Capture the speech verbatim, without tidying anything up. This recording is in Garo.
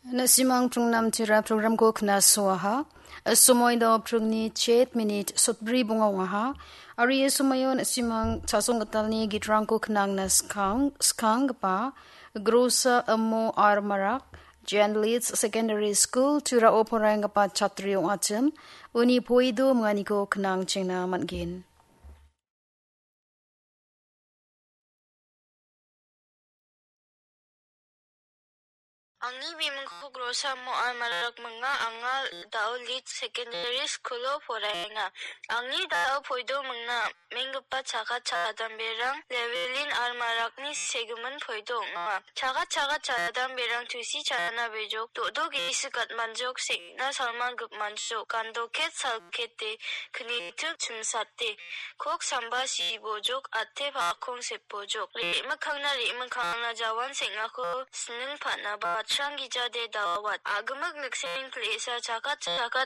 Na·simang pringnamtira programko knasoaha. Somoi do pringni chet minit sotbri bonga ong·aha. Aro ia somoio na·simang chasong gitalni gitrangko knangna skang-, skanggipa Grosa Amo Armarak, Jan Leeds Secondary School, Turao poraienggipa chatri ong·achim. Uni poido minganiko knangchengna man·gen. Angni bimingko Grosa Mo Almarak minga, anga da·o Leeds Secondary School-o poraenga. Angni da·o poido mingna menggipa chaga chadamberang Llewellyn Almarakni segimin poido ong·a. Chaga chaga chadamberang tusi chana bejok, do·do ge·si gatmanjok, seng·na salman gipmanjok, gando ket sal kete, knitik chimsate, kok samba sibojok, ate pakong sepojok. Re·mikkangna re·mikkangna jawan seng·ako sining pa·na batrang gijade dawat. A·gimik nikseng pil·esa chakat chakat